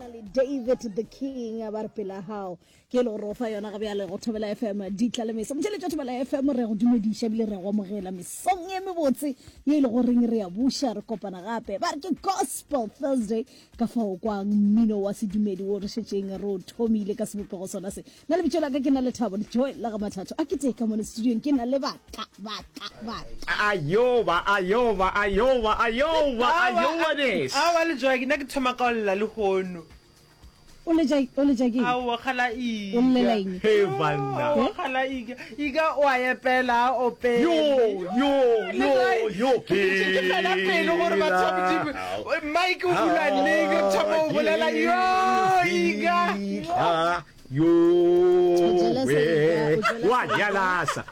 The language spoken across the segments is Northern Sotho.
na le David the King ba re pela hao ke e le gore o fa yona ga bjale go Thobela FM ditla le meso. Motšheletši wa Thobela FM re go dumediša ebile re go amogela mesong e mebotse ye e le goreng re ya buša re kopana gape. Ba re ke Gospel Thursday ka fao kwang mmino wa sedumedi wo re šetšeng re o thomile ka sebopego sona se. Nna lebitso la ka ke na Lethabo Joy la ga Mathatho. A ke tee ka mone studiong ke na le baka baka baka. Ayoba ayoba ayoba ayoba ayoba des. Aowa le Joy nna ke thoma ka go lla lehono. O letša o letša ke eng? Aowa kgala ika. O llela eng? He banna. Aowa kgala ika. Ika o a epela a opele. Yo yo yo yo ke. Ke fela pelo gore batho ba Modimo Mike o bula neng re thoma o bolela yo ika. Yo we wa jalasa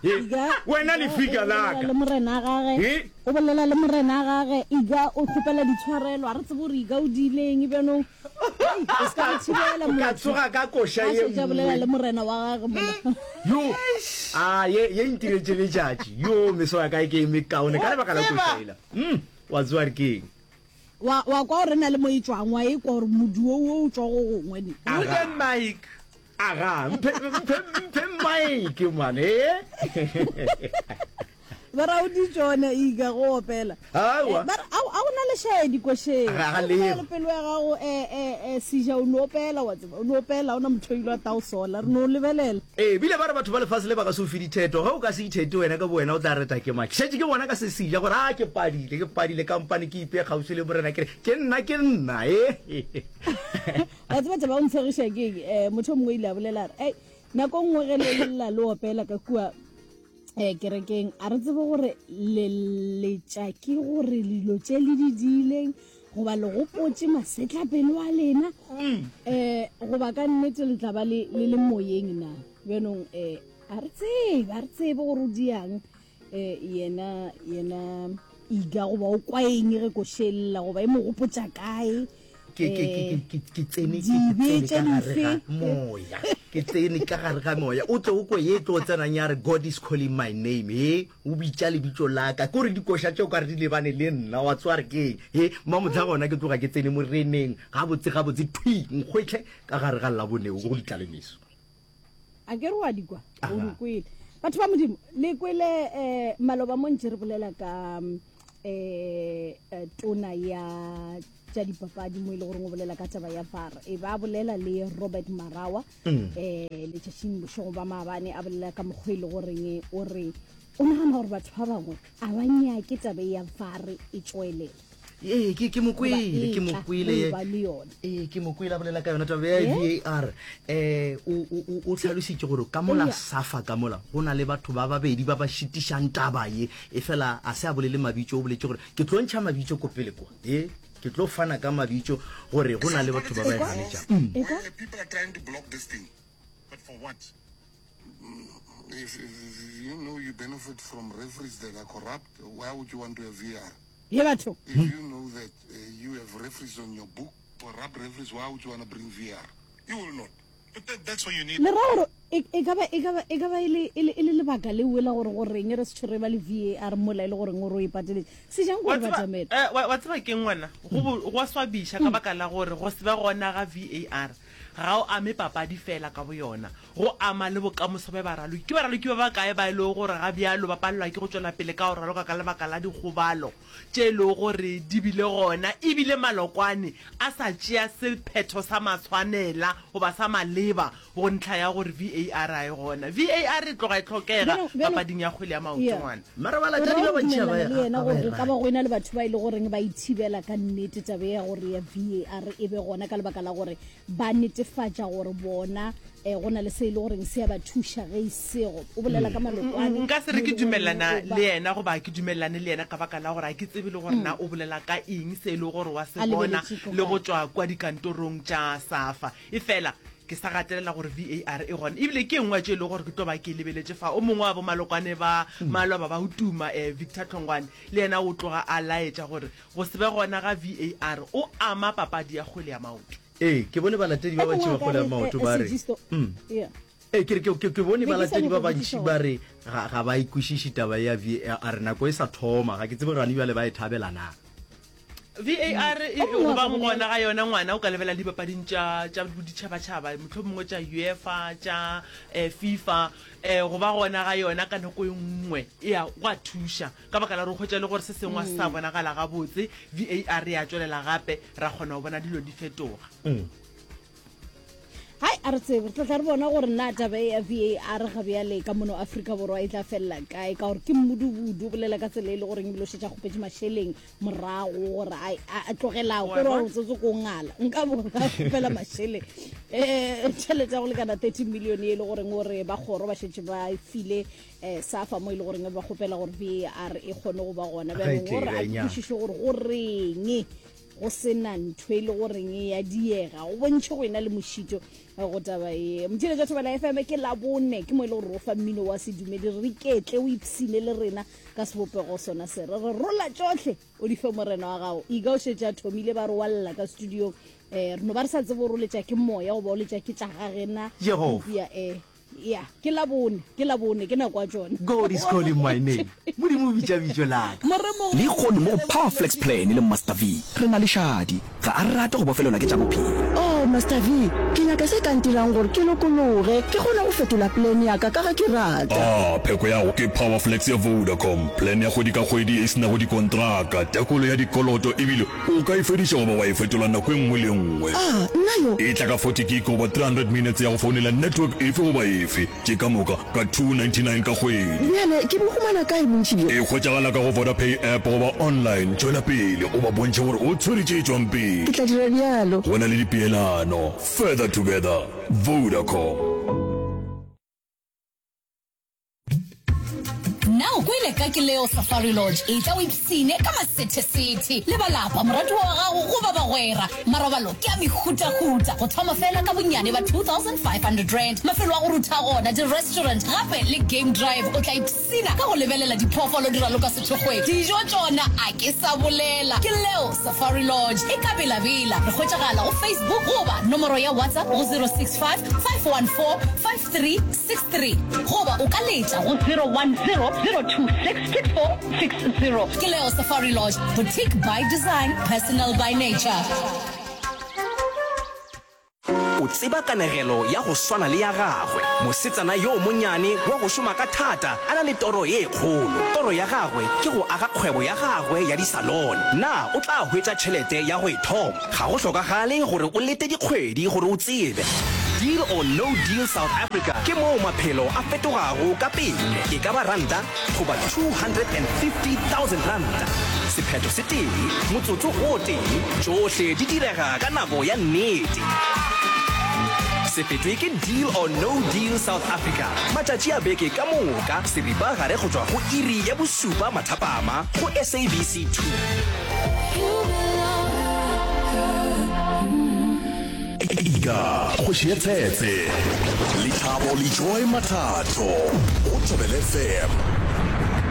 wena lefika laka le morena gage o bolela le morena gage iga o kgopela ditshwarelo a re tsebe gore iga o diileng bjanong o se ka re thibela o ka tsoga ka koša ye nngwe bolela le morena wa gage mona yo a ye ye ntiretše letšatši yo meso ya ka e ke e mekaone ka lebaka la koša ela mm wa tsoa re keng Wa, wa kwa gore na le mo e tšwang, wa e kwa gore modu wo wo o tšwa go gongwe ne. Wooden mic. Aga, mphe, mphe, mphe mic, man, eh? Ba ra o di tšone ika go opela. Aowa. Eh, ba re, ao, ao na le šaedi košeng. Ga, ga O leo. le pelo ya gago, eh, eh, eh, seja o no opela, wa tseba, o no opela, o na motho o ile wa tao sola, re no lebelela. Ee, bile ba re batho ba lefase le ba ka se o fe ditheto. Ge o ka se ithete wena ka bowena o tla reta ke mang? Ke šetše ke bona ka se seja gore a ke padile, ke padile kampane ke ipee kgauswi le Morena ke re ke nna ke nna e. Wa tseba taba o ntshegiša ke eng? Eh, motho o mongwe o ile a bolela a re, Ei, nako nngwe ge le lla le opela ka kua eh, kerekeng, a re tsebe gore le letša ke gore dilo tše le di diileng goba le gopotše masetlapelo a lena um goba ka nnete le tla ba le le moyeng na bjanong um a re tsebe a re tsebe gore o diang um yena yena iga goba o kwa eng ge košelela goba e mo gopotša kae ke ke ke ke ke ke tsene ke tsene ka gare ga moya ke tsene ka gare ga moya o tle o kwe ye tlo tsenang ya re god is calling my name he o bitša lebitso la ka ke gore dikoša tšeo ka re di lebane le nna wa tsoa re keng he mmamotlha gona ke tloga ke tsene moreneng gabotse gabotse thwi nkgwetlhe ka gare ga laboneo go ditlalemeso a ke re wa di kwa o di kwele batho ba modimo le kwele um maloba mo ntse re bolela ka um tona ya tša dipapadi mo e le goreng o bolela ka taba ya var e ba bolela le robert marawa um letšatšing bošego ba maabane a bolela ka mokgwa e le goreng o re o nagana gore batho ba bangwe a ba nyake tabe ya var e tšwelela ee ke ke mokwele ke mokwele ee ke mokwele a bolela ka yona taba ya VAR eh o o o tlhalositše gore ka mola safa ka mola go na le batho ba babedi ba ba šitišang taba ye e fela a se a bolele mabitso o boletše gore ke tlo ntšha mabitso ko pele kwa e ke tlo fana ka mabitso gore go na le batho ba ba e ganetšang mm. People are trying to block this thing. But for what? If, if you know you benefit from referees that are corrupt, why would you want to have VAR? Ye batho. If you know that uh, you have referees on your book, corrupt referees, why would you want to bring VAR? You will not. But that, that's why you need Le ra gore e e ka ba e ka ba e ka ba e le e le e le lebaka leo la gore goreng re se tšhore ba le VAR mola e le goreng o re o e pateletše. Se jang Wa gore ba tseba, tamela. eh, wa, wa tseba keng ngwana? Go bo, go a swabiša ka baka la gore go se be gona ga VAR ga o ame papadi feela ka boyona, go ama le bokamoso bja baraloki. Ke baraloki ba bakae ba e lego gore ga bjalo ba palelwa ke go tšwela pele ka go raloka ka lebaka la dikgobalo tše e lego gore di bile gona e bile malokwane a sa tšea sephetho sa maswanela goba sa maleba go ntlha ya gore VAR ga e gona. VAR e tloga e hlokega papading ya kgwele ya maoto ngwana. Mara O ra balatedi go ba bantši ga ba dumelelana le yena ga ba gore e go ka ba rate. go ena le batho ba e le goreng ba e thibela ka nnete taba ya gore ya VAR e be gona ka lebaka la gore ba netefatša gore bona um go na le se e le goreng se a ba thuša ge e sego o bolela ka malokwane Nka se mo re e ke le goreng dumelelana o ba le yena goba ke dumelelane le yena ka baka la gore ga ke tsebe le gore na o bolela ka eng se e lego gore wa se a bona lebeletše ko le go kae. tšwa kwa dikantorong tša SAFA. Efela ke sa gatelela gore VAR e gona ebile ke e nngwe ya tše e lego gore ke tlo ba ke e lebeletše fa. O mongwe wa bomalokwane ba maloba ba go tuma, Victor Hlongwane, le yena o tloga a laetša gore go se be gona ga VAR o ama papadi ya kgwele ya maoto. Ee, ke bone balatedi ba E bantši mongwe ba a ka kgwele ya re, maoto eh, ba re, Sejisto, mm. yeah. Ee, ke re ke, ke, ke bone Be ke sa balatedi nyaka ba go bantši botšiša ba gore re ga, ga ba e kwešiše taba ya VAR nako e sa thoma. Ga ke tsebe gane bjale ba e thabela na. VAR e O mongwe go a ba ka bolela. gona ga yona ngwana o ka lebelela dipapading tša tša boditšhabatšhaba mohlomongwe tša UEFA tša eh, FIFA eh, go ba gona ga yona ka nako e nngwe e a go a thuša ka baka la gore o hwetša le gore se sengwe a se sa bonagala gabotse VAR ya tšwelela gape ra kgona go bona dilo di fetoga. Hai, a re tsebe, re tla tla re bona gore na taba e ya VAR ga bjale ka mono Afrika Borwa e tla felela kae, ka gore ke mmudubudu o bolela ka tsela e le goreng ebile o šetše a kgopetše mašeleng morago gore a, a, a tlogela Wa kore bona? gore tsotso ko ngala nka bo a kgopela mašeleng um tšhelete ya go lekana 30 million e le goreng gore ba kgoro ba šetše ba e file um safa mo e le goreng ba kgopela gore VAR e kgone go ba gona Ga e bjanong tle e gore a re nya. kwešiše gore go reng Go se na ntho e le goreng e ya diega, go bontšhe go ena le mošito go taba ye. Motheeletši wa Thobela FM ke Labone, ke mo e le gore ro fa mmino wa sedumedi, re iketle o ipshine le rena ka sebopego sona se. Re re rola tšohle o di fe morena wa gago. Iga o šetše a thomile ba re wa lla ka studiong. Eh, re no ba re sa tsebe gore o letša ke moya goba o letša ke tša gagena. Jehofa. Eupša eh Ya, ke Labone, ke Labone, ke nako ya tšona. God is calling my name. Modimo o bitša bitšo la ka. Lehono mo go Power Flex Plan le Master V, re na le Shadi. Ga a rate go bofelelwa ke tša bophelo. Oh, Master V, ke nyaka se ka ntirang gore ke lokologe, ke kgone go fetola plan ya ka ka ge ke rata. Ah, pheko ya go ke Power Flex ya Vodacom, plan ya kgwedi ka kgwedi e se nago dikontraka, tekolo ya dikoloto ebile O ka e fediša goba wa e fetola nako e nngwe le e nngwe. A, nna yo? E tla ka 40 gig goba 300 minutes ya go founela network efe goba efe, tše ka moka ka 299 ka kgwedi. Bjale ke bo humana kae bontši bjo? E hwetšagala ka go Vodapay app goba online. Tšwela pele o ba bontšhe gore o tshwere tše tšwang pele. Ke tla dira bjalo. Go na le dipeelano. Further together. Vodacom. Na o kwele ka Kileo Safari Lodge? Etla o ipsine ka masethesethe le ba lapa, moratiwa wa gago goba bagwera. Marobalo ke a mehutahuta, go thoma fela ka bonnyane ba R2500. Mafelo a go rutha gona, di-restaurant gape le game drive. O tla ipsina ka go lebelela diphoofolo di raloka sethokgweng. Dijo tšona a ke sa bolela. Kileo Safari Lodge e ka Bela-Bela. Re hwetšagala go Facebook goba nomoro ya WhatsApp go 065 514 363 goba o ka letša go 010-026-6460. Ke Leo Safari Lodge, boutique by design, personal by nature. O tseba kanegelo ya go swana le ya gagwe, mosetsana yo monyane wa go šoma ka thata a na le toro ye kgolo. Toro ya gagwe ke go aga kgwebo ya gagwe ya disalone. Na o tla hwetša tšhelete ya go e thoma? Ga go hlokagale gore o lete dikgwedi gore o tsebe. Deal or No Deal South Africa ke moo maphelo a fetogago ka pele, e ka ba ranta goba R250,000. Sephetho se tee, motsotso o tee, tšohle di direga ka nako ya nnete. Se fetwe ke Deal or No Deal South Africa matšatši a beke ka moka seripagare go tšwa go iri ya bošupa mathapama go SABC 2. Ika, kgoši ya tshetse. Lethabo le Joy Mathatho go Thobela FM.